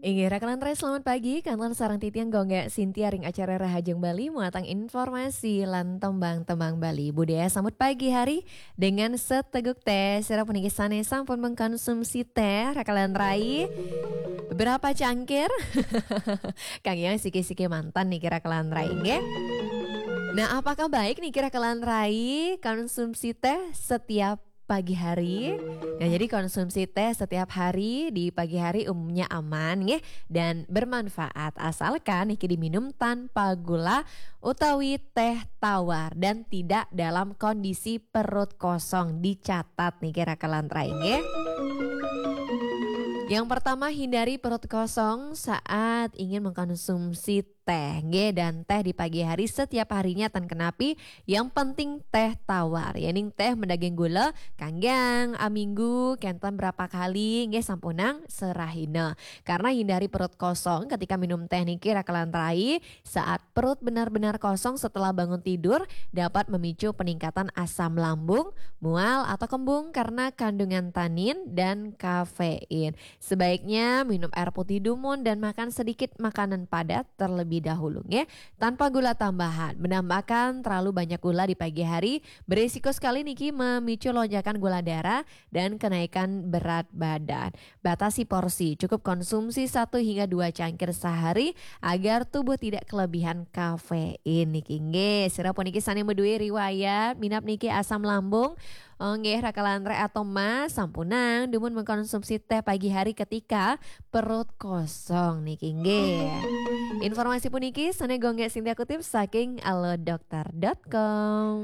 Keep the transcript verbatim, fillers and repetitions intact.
Inggih, Raka lan Rai, selamat pagi. Kantun sareng titiang Gung Gék Sintia ring acara Rahajeng Bali, muatang informasi lan tembang-tembang Bali. Budaya sambut pagi hari dengan seteguk teh. Sira puniki sané sampun mengkonsumsi teh, Raka lan Rai? Berapa cangkir? Kang Yang siki-siki mantan niki, Raka lan Rai, nggih. Nah, apakah baik niki, Raka lan Rai, konsumsi teh setiap pagi hari? Nah, jadi konsumsi teh setiap hari di pagi hari umumnya aman, nggih, dan bermanfaat asalkan niki diminum tanpa gula utawi teh tawar dan tidak dalam kondisi perut kosong. Dicatat niki, Raka lan Rai, nggih. Yang pertama, hindari perut kosong saat ingin mengkonsumsi teh, nggih, dan teh di pagi hari setiap harinya tan kenapi, yang penting teh tawar. Yéning teh madaging gula, Kang Yang, aminggu kénten berapa kali, nggih, sampunang serahina. Karena hindari perut kosong ketika minum teh niki, Raka lan Rai, saat perut benar-benar kosong setelah bangun tidur dapat memicu peningkatan asam lambung, mual atau kembung karena kandungan tanin dan kafein. Sebaiknya minum air putih dumun dan makan sedikit makanan padat terlebih dahulu, nggih. Tanpa gula tambahan, menambahkan terlalu banyak gula di pagi hari berisiko sekali niki memicu lonjakan gula darah dan kenaikan berat badan. Batasi porsi, cukup konsumsi satu hingga dua cangkir sehari agar tubuh tidak kelebihan kafein niki, nggih. Sira puniki sané madué riwayat minab niki asam lambung, oh, nggih, Raka lan Rai, atau Mas, sampunang dumun mengkonsumsi teh pagi hari ketika perut kosong niki, nggih. Informasi puniki sané Gung Gék Sintia kutip saking alodokter dot com.